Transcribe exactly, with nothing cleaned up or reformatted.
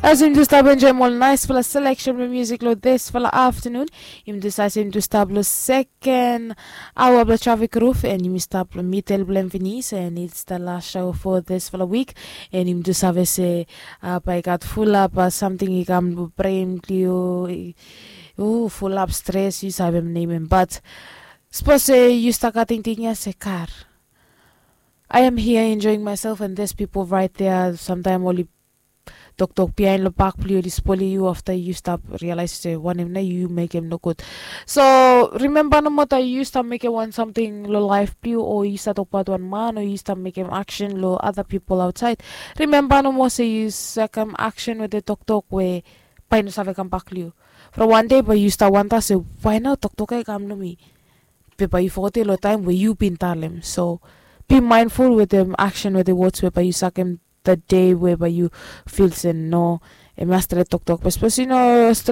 As yumi tu stap enjoim ol naisfala seleksen blong musik long disfala aftanun, yumi tu save se yumi tu stap long seken aoa blong trafik ruf, and yumi stap long midel blong hem finis, and it's the last show for disfala wik. And yumi tu save se bae i gat fulap samting i kam long bren blong yu. Fulap stres, yu save nem hem, bat sapos se yu stap gat tingting ya se, kar, I am here enjoying myself, and there's people right there. Samtaim oli toktok bihain long bak blong yu, oli spoilim yu, afta yu stap realize se wanem nao yu mekem nogud. So rimemba nomo taem yu stap mekem wan samting long laef blong yu, o yu stap tokbaot wan man, o yu stap mekem aksen long other people aotsaed, rimemba nomo se yu sakem aksen wetem toktok we bae i no save kambak long yu. From wan dei bae yu stap wanda se, wae nao toktok ya i kam long mi? Be bae yu fogetem long taem we yu bin talem. So be mindful wetem aksen, wetem wods we bae yu sakem the day we bae yu fil se no, hemia stret toktok. Be sapos yu no